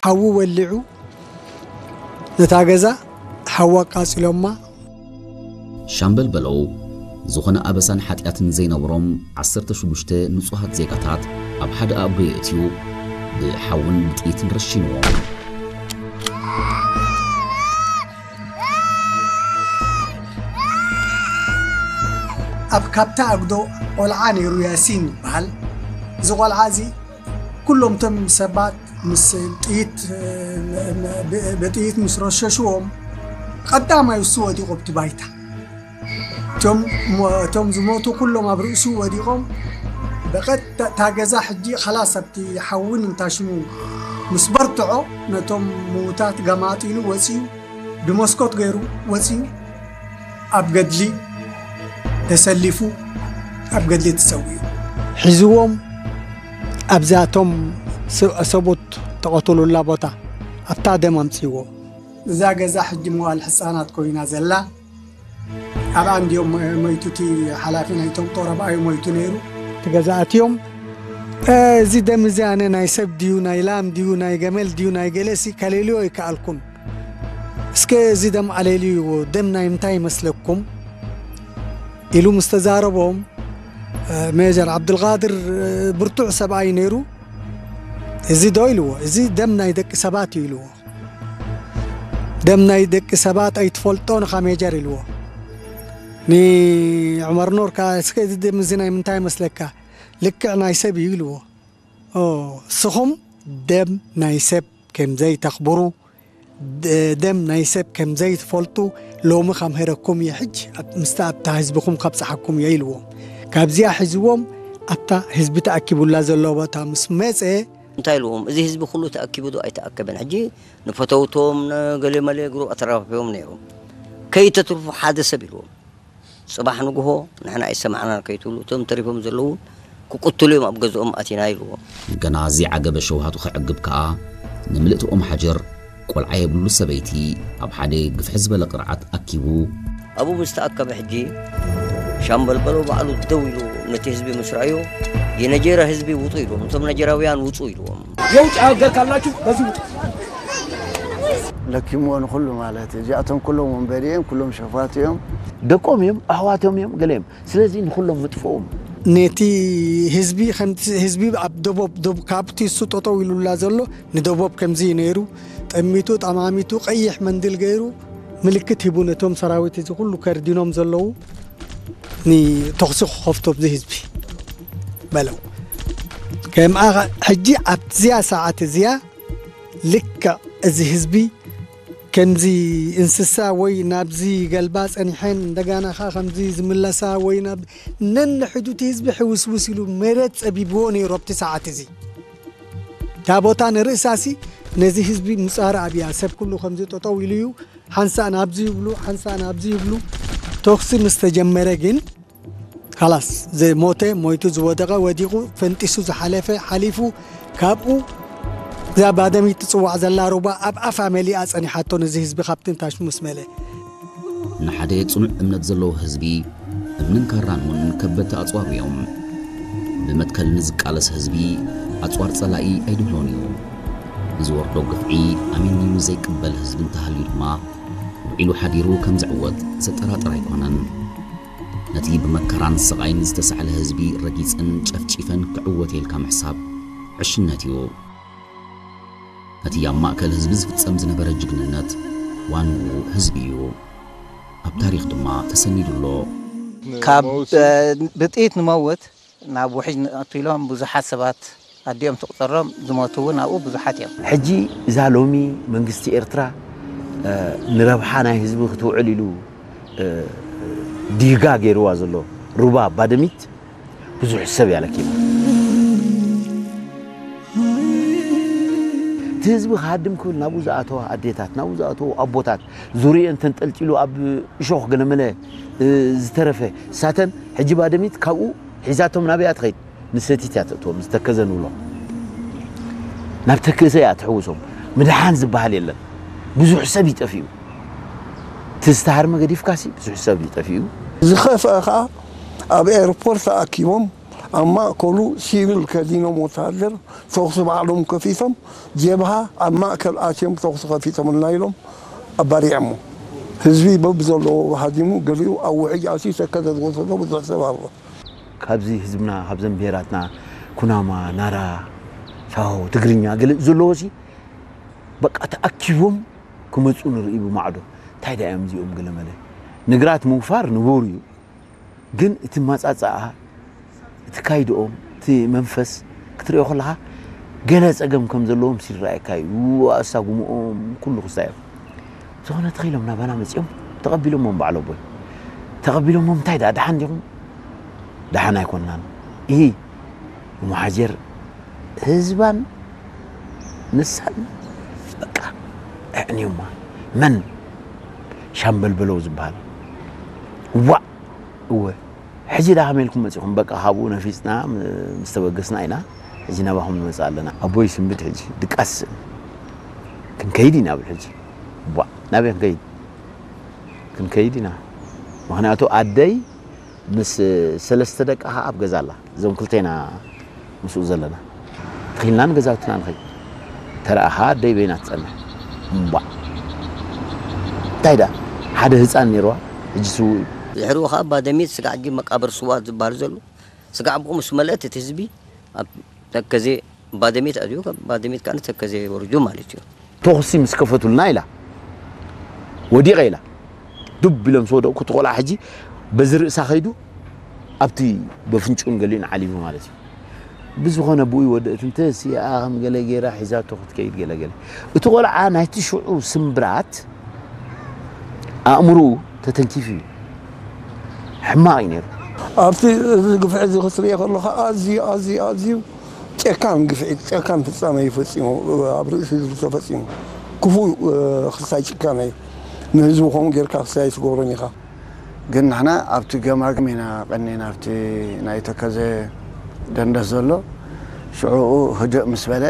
ሓዊ ወሊዑ ነታ ገዛ ሓዊ ኣቃጺሎማ። ሻምበል በለው ዝኾነ ኣበሳን ሓጢኣትን ዘይነበሮም ዓሰርተ ሽዱሽተ ንጹሃት ዜጋታት ኣብ ሓደ ኣጉዶ የእትዩ ብሓውን ብጥይትን ረሺንዎም። ኣብ ካብታ ኣጉዶ ቆልዓ ነይሩ፣ ያሲን ይበሃል። እዚ ቆልዓ እዚ ኩሎም እቶም ሰባት ምስ ጥይት፣ ብጥይት ምስ ረሸሽዎም፣ ቀዳማይ እሱ ወዲቑ ኣብቲ ባይታ። እቶም ዝሞቱ ኩሎም ኣብ ርእሱ ወዲቖም፣ ብቐጥታ እታ ገዛ ሕጂ ኸላስ ኣብቲ ሓውን እንታሽሙ ምስ በርትዖ፣ ነቶም ምዉታት ገማጢሉ ወፂኡ፣ ብመስኮት ገይሩ ወፂኡ፣ ኣብ ገድሊ ተሰሊፉ፣ ኣብ ገድሊ ተሰዊኡ። ሒዝዎም ኣብዛ እቶም ሰ- ሰቡት ተቐተሉላ ቦታ ኣብታ ደም ኣምፅዎ። እዛ ገዛ ሕጂ መዋል ሕፃናት ኮይና ዘላ፣ ኣብኣ እንዲዮም ሞይቱ፣ እቲ ሓላፊ ናይቶም ጦር ኣብኣ እዩ ሞይቱ ነይሩ። እቲ ገዛ ኣትዮም፣ "እ፣ እዚ ደም እዚ ኣነ ናይ ሰብ ድዩ ናይ ላም ድዩ ናይ ገመል ድዩ ናይ ገለሲ ከሌልዮ ኣይከኣልኩን። እስከ እዚ ደም ኣለልይዎ፣ ደም ናይ ምንታይ ይመስለኩም?" ኢሉ ምስ ተዛረቦም፣ እ፣ ሜጀር ዓብዱልቃድር፣ እ፣ ብርቱዕ ሰብኣይ ነይሩ። "እዚ ዶ?" ኢልዎ። "እዚ ደም ናይ ደቂ ሰባት እዩ" ኢልዎ። "ደም ናይ ደቂ ሰባት ኣይትፈልጦን ኢኻ ሜጀር" ኢልዎ። ንዑመር ኑር ከኣ፣ "እስከ እዚ ደም እዚ ናይ ምንታይ ይመስለካ? ልክዕ ናይ ሰብ እዩ" ኢልዎ። "ኦ፣ እስኹም ደም ናይ ሰብ ከም ዘይተኽብሩ፣ ደ- ደም ናይ ሰብ ከም ዘይትፈልጡ ሎሚ ከምህረኩም እየ፣ ሕጂ ኣብ- ምስቲ ኣብታ ህዝብኹም ከብጽሓኩም እየ" ኢልዎም። ካብዚኣ ሒዝዎም ኣብታ ህዝቢ ተኣኪቡላ ዘሎ ቦታ ምስ መጸ፣ እንታይ ኢልዎም? "እዚ ህዝቢ ኩሉ ተኣኪቡ ዶ ኣይተኣከበን? ሕጂ ንፈተውቶም፣ ንገሌ መሌ ግሩብ ኣተራፊፎም ነይሮም። ከይተትርፉ ሓደ ሰብ" ኢልዎም። "ጽባሕ ንግሆ ንሕና ኣይሰማዕናን ከይትብሉ፣ እቶም ተሪፎም ዘለዉ ክቅትሉ እዮም ኣብ ገዝኦም ኣቲና" ኢልዎም። ገና ዘይዓገበ ሸውሃቱ ከዕግብ ከኣ፣ ንምልእቲ ኦም ሓጀር፣ ቆልዓ የብሉ ሰበይቲ፣ ኣብ ሓደ ግፍሒ ዝበለ ቅርዓት ኣኪቡ፣ ኣብኡ ምስ ተኣከበ ሕጂ፣ ሻምበል በሎ ባዕሉ ደው ኢሉ ነቲ ህዝቢ ምስ ረኣዮ፣ "የነጀራ ህዝቢ ውጡ" ኢልዎም። እቶም ነጀራውያን "ውጹ" ኢልዎም። የውጭ ሀገር ካላችሁ በዚህ ውጡ። ለኪምዎ ንኹሉ ማለት እዩ። እዚኣቶም ኩሎም ወንበዴ እዮም፣ ኩሎም ሸፋቱ እዮም። ደቆም እዮም፣ ኣሕዋቶም እዮም፣ ገለ እዮም። ስለዚ ንኹሎም ምጥፍኦም። ነቲ ህዝቢ፣ ከምቲ ህዝቢ ኣብ ደቦብ፣ ደብ-፣ ካብቲ እሱ ጠጠው ኢሉላ ዘሎ፣ ንደቦብ ከምዚ እዩ ነይሩ፣ ጠሚቱ፣ ጠማሚቱ፣ ቀይሕ መንድል ገይሩ፣ ምልክት ሂቡ ነቶም ሰራዊት እዚ ኩሉ ከርዲኖም ዘለዉ፣ ንተኹሲ ክኸፍቱ ኣብዚ ህዝቢ በለው። ከምኣ ኸ-፣ ሕጂ ኣብዚኣ ሰዓት እዚኣ ልክዕ እዚ ህዝቢ ከምዚ እንስሳ ወይ ናብዚ ገልባ ጸኒሐን እንደጋና ኸኣ ከምዚ ዝምለሳ ወይ ናብ ነንሕዱቲ ህዝቢ ሕውስውስ ኢሉ መሬት ጸቢብዎ ነይሩ ኣብቲ ሰዓት እዚ። እታ ቦታ ንርእሳሲ ነዚ ህዝቢ ምጻረ ኣብያ። ሰብ ኩሉ ከምዚ ጠጠው ኢሉ እዩ። ሓንሳእ ናብዚ ይብሉ፣ ሓንሳእ ናብዚ ይብሉ። ተኹሲ ምስ ተጀመረ ግን፣ ካላስ፣ ዝሞተ ሞይቱ፣ ዝወደቐ ወዲቑ፣ ፈንጢሱ ዝሓለፈ ሓሊፉ፣ ካብኡ እዛ ባደሚት ትጽዋዕ ዘላ ሩባ ኣብ ኣፋ መሊኣ ጸኒሓቶ፣ ነዚ ህዝቢ ካብቲ ንታሽ ምስ መለ። ንሓደ ጽኑዕ እምነት ዘለዎ ህዝቢ፣ እምንን ካራን እውን ከበድቲ ኣጽዋር እዮም። ብመትከል ንዝቃለስ ህዝቢ፣ ኣጽዋር ጸላኢ ኣይድህሎን እዩ። ንዝወርዶ ግፍዒ ኣሚኑ ዘይቅበል ህዝቢ እንተሃልዩ ድማ፣ ውዒሉ ሓዲሩ ከም ዝዕወት ዘጠራጥር ኣይኮነን። ነቲ ብመከራን ስቓይን ዝተሳዕለ ህዝቢ ረጊጽን ጨፍጪፈን ክዕወት ኢልካ ምሕሳብ ዕሽነት እዩ። ነቲ ኣብ ማእከል ህዝቢ ዝፍጸም ዝነበረ ጅግንነት ዋንኡ ህዝቢ እዩ። ኣብ ታሪኽ ድማ ተሰኒዱ ኣሎ። ካብ ብጥይት ንመውት ናብ ውሕጅ ንኣቱ ኢሎም ብዙሓት ሰባት ኣዲኦም ትቑጸሮም ዝሞቱ እውን ኣብኡ ብዙሓት እዮም። ሕጂ እዛ ሎሚ መንግስቲ ኤርትራ ንረብሓ ናይ ህዝቢ ክትውዕል ኢሉ ዲጋ ገይርዋ ዘሎ ሩባ ባደሚት ብዙሕ ሰብ እያ ለኪማ። እቲ ህዝቢ ክሃድም ክብል ናብኡ ዝኣተዋ ኣዴታት፣ ናብኡ ዝኣተዉ ኣቦታት፣ ዙርየን ተንጠልጢሉ ኣብ እሾኽ ገለመለ ዝተረፈ ሳተን ሕጂ ባደሚት ካብኡ ሒዛቶም ናበይ እያ ትኸይድ? ንሰቲት እያ ተእትዎም፣ ዝተከዘ ንብሎ ናብ ተከዘ እያ ትሕውሶም። ምድሓን ዝበሃል የለን። ብዙሕ ሰብ እዩ ጠፊኡ። እቲ ዝተሃርመ ገዲፍካሲ ብዙሕ ሰብ እዩ ጠፊኡ። ዝኸፍአ ኸዓ ኣብ ኤርፖርት ተኣኪቦም ኣብ ማእከሉ ሲቪል ከዲኖም ወተሃደር ተኹሲ ባዕሎም ከፊቶም፣ ጀብሃ ኣብ ማእከል ኣትዮም ተኹሲ ከፊቶምልና ኢሎም ኣባሪዖሞ። ህዝቢ በብዘለዎ ሃዲሙ፣ ገሊኡ ኣብ ውሕጅ ኣትዩ ተከዘ ዝወሰዶ ብዙሕ ሰብ ኣሎ። ካብዚ ህዝብና፣ ካብዘን ብሄራትና፣ ኩናማ፣ ናራ፣ ሳሆ፣ ትግርኛ፣ ገለ ዘለዎሲ በቃ ተኣኪቦም ክመፁ ንርኢ ብማዕዶ። እንታይ ደኣ እዮም እዚኦም? ገለመለ። ንግራት ምውፋር ንቡር እዩ፣ ግን እቲ ማፃፃኣ፣ እቲ ካይድኦም፣ እቲ መንፈስ ክትሪኦ ከለኻ፣ ገለ ፀገም ከም ዘለዎም ይረኣየካ እዩ። ኣሳጉምኦም ኩሉ ክስታይ እዮም። ዝኾነ ተኺሎም ናባና መፂኦም ተቐቢሎሞም፣ በዓል ኣቦይ ተቐቢሎሞም፣ እንታይ ደኣ ደሓን ዲኹም? ደሓን ኣይኮንናን። ይሂ እሞ ሓጀር ህዝባን ንሳን በቃ ኣዕንዮማ። መን? ሻምበል በለው ዝበሃል። ዋእ! እወ። ሕጂ ደኣ ከመይ ኢልኩም መጺኹም? በቃ ካብኡ ነፊጽና ም-፣ ምስ ተበገስና ኢና ሕጂ ናባኹም ንመጽእ ኣለና። ኣቦይ ስንብድ ሕጂ ድቃስ ስእን። ክንከይድ ኢና ብል ሕጂ። ዋእ! ናበይ ክንከይድ? ክንከይድ ኢና። ምኽንያቱ ኣደይ ምስ ሰለስተ ደቃ ኣብ ገዛ ኣላ። እዞም ክልቴና ምስኡ ዘለና። ተኺልና ንገዛውትና ንኸይድ። ተረኣኻ ኣደይ በይና ትጸንሕ። እምቧእ። እንታይ ደኣ? ሓደ ህጻን ነይርዋ፣ ሕጂ ስዉእ እዩ። ድሕሪኡ ኸኣ ባደሜት ስጋዕ ጊ መቃብር ስዉኣት ዝበሃል ዘሎ። ስጋዕ ብኡ ምስ መለአት እቲ ህዝቢ ኣብ ተከዜ ባደሜት ኣትዩ፣ ካብ ባደሜት ከኣ ንተከዜ ወሪዱ ማለት እዩ። ተኹሲ ምስ ከፈቱልና ኢላ ወዲቐ ኢላ ዱብ ኢሎም ምስ ወደቕኩ፣ እቲ ቆልዓ ሕጂ በዚ ርእሳ ከይዱ ኣብቲ በፍንጭኡን ገሊኡን ዓሊቡ ማለት እዩ። ብዝኾነ ብኡ ይወደእት እንተ ሲኣ ከም ገለ ገይራ ሒዛቶ ክትከይድ ገለ ገለ። እቲ ቆልዓ ናይቲ ሽዑ ስምብራት ኣእምሮኡ ተተንኪፉ እዩ። ሕማቕ እዩ ነይሩ። ኣብቲ እዚ ግፍዒ እዚ ክትሪኦ ከለኻ ኣዝዩ፣ ኣዝዩ፣ ኣዝዩ ጨካን ግፍዒ፣ ጨካን ፍጻመ እዩ ፈጺሙ፣ ኣብ ርእሲ ህዝቢ ተፈጺሙ። ክፉእ፣ እ፣ ክስታይ ጭካነ እዩ። ንህዝቢ ከምኡ ጌርካ ክስታይ ኣይትገብሮን ኢኻ። ግን ንሕና ኣብቲ ገማግም ኢና ቀኒና፣ ኣብቲ ናይ ተከዘ ደንደስ ዘሎ። ሽዑኡ ህድእ ምስ በለ፣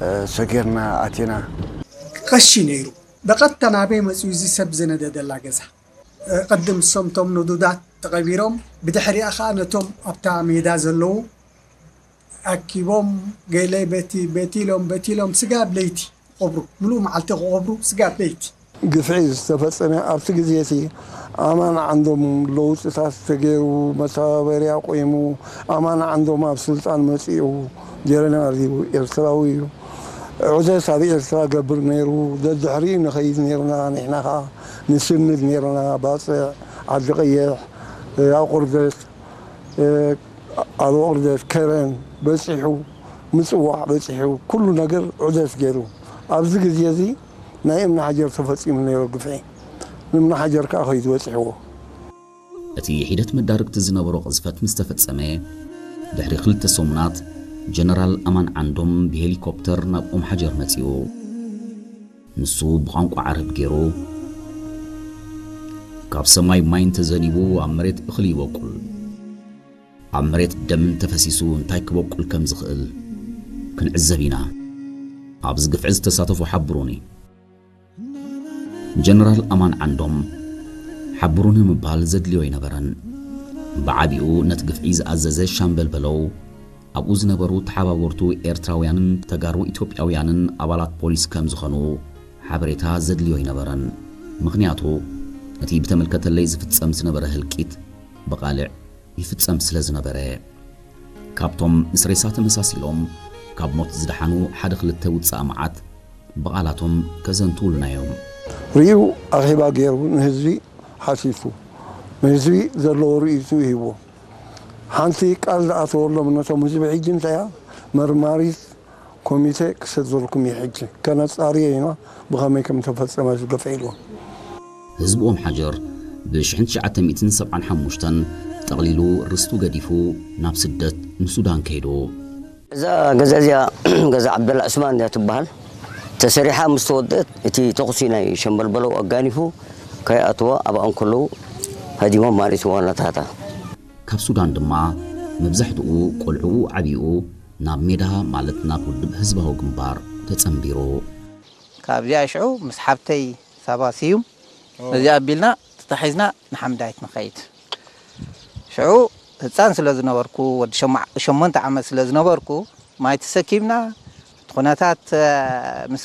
እ፣ ሰጊርና ኣቲና። ቀሺ ነይሩ። ብቐጥታ ናበይ መጺኡ እዚ ሰብ ዝነደደላ ገዛ? እ፣ ቅድም እሶም እቶም ንዱዳት ተቐቢሮም፣ ብድሕሪኣ ኸኣ ነቶም ኣብታ ሜዳ ዘለዉ ኣኪቦም፣ ገለ በቲ፣ በቲ ኢሎም፣ በቲ ኢሎም፣ ስጋብ ለይቲ ክቐብሩ፣ ምሉእ መዓልቲ ክቐብሩ፣ ስጋብ ለይቲ። ግፍዒ ዝተፈጸመ ኣብቲ ግዜ እቲ ኣማን ዓንዶም ለውጥታት ተገይሩ፣ መተባበርያ ቆይሙ፣ ኣማን ዓንዶም ኣብ ስልጣን መጺኡ፣ ጀነራል እዩ፣ ኤርትራዊ እዩ። ዑደት ኣብ ኤርትራ ገብር ነይሩ፣ ደድሕሪኡ ንኸይድ ነይርና፣ ንሕና ኸኣ ንስንድ ነይርና፣ ባጽዕ፣ ዓዲ ቀይሕ፣ ኣቑርደት፣ ኣብ ቁርደት ከረን በጺሑ፣ ምጽዋዕ በጺሑ፣ ኩሉ ነገር ዑደት ገይሩ። ኣብዚ ግዜ እዚ ናይ እምኒ ሓጀር ተፈጺሙ ነይሩ ግፍዒ። እምኒ ሓጀር ከኣ ከይዱ በጺሕዎ። እቲ ሒደት መዳርግቲ ዝነበሮ ቅዝፈት ምስ ተፈጸመ፣ ድሕሪ ክልተ ሰሙናት፣ ጀነራል ኣማን ዓንዶም ብሄሊኮፕተር ናብ ኦም ሓጀር መጺኡ። ንሱ ብቋንቋ ዓረብ ገይሩ፣ ካብ ሰማይ ማይ እንተዘኒቡ ኣብ መሬት እኽሊ ይበቁል። ኣብ መሬት ደም እንተፈሲሱ እንታይ ክበቁል ከም ዝኽእል ክንዕዘብ ኢና። ኣብዚ ግፍዒ ዝተሳተፉ ሓብሩኒ። ጀነራል ኣማን ዓንዶም ሓብሩኒ ምባል ዘድልዮ ኣይነበረን። ብዓቢኡ ነቲ ግፍዒ ዝኣዘዘ ሻምበል በለው፣ ኣብኡ ዝነበሩ ተሓባበርቱ ኤርትራውያንን ተጋሩ ኢትዮጵያውያንን ኣባላት ፖሊስ ከም ዝኾኑ ሓበሬታ ዘድልዮ ኣይነበረን። ምኽንያቱ እቲ ብተመልከተለይ ዝፍጸም ዝነበረ ህልቂት ብቓልዕ ይፍጸም ስለ ዝነበረ። ካብቶም ምስ ሬሳ ተመሳሲሎም ካብ ሞት ዝደሓኑ ሓደ ክልተ ውጻእ መዓት ብቓላቶም ከዘንትዉልና እዮም። ርእዩ ኣኼባ ገይሩ ንህዝቢ ሓቲቱ፣ ንህዝቢ ዘለዎ ርእይቱ ይህቦ። ሓንቲ ቃል ዝኣተወሎም ነቶም ህዝቢ ሕጂ እንታይ እያ? መርማሪት ኮሚቴ ክሰደልኩም እየ ሕጂ፣ ከነጻርዮ ኢና ብኸመይ ከም ተፈጸመ እዚ ግፍዒ ኢልዎም። ህዝቢ ኦም ሓጀር ብ ሽሕን ትሽዓተ ሚእትን ሰብዓን ሓሙሽተን ጠቕሊሉ ርስቱ ገዲፉ ናብ ስደት ንሱዳን ከይዱ። እዛ ገዛ እዚኣ ገዛ ዓብደላ ዑስማን እያ ትበሃል። ተሰሪሓ ምስ ተወደአት እቲ ተኹሲ ናይ ሸምበል በለው ኣጋኒፉ ከይኣትዋ ኣብኣ እንከለዉ ሃዲሞም ማለት እዩ ዋናታታ። ካብ ሱዳን ድማ መብዛሕትኡ ቆልዕኡ ዓብይኡ ናብ ሜዳ ማለት ናብ ውድብ ህዝባዊ ግንባር ተጸንቢሩ። ካብዚኣ ሽዑ ምስ ሓብተይ ሳባ ስዩም እዚኣ ኣቢልና ተታሒዝና ንሓምዳይት ንኸይድ። ሽዑ ህፃን ስለ ዝነበርኩ፣ ወዲ ሸማ- ሸሞንተ ዓመት ስለ ዝነበርኩ፣ ማይ ተሰኪምና እቲ ኩነታት፣ እ፣ ምስ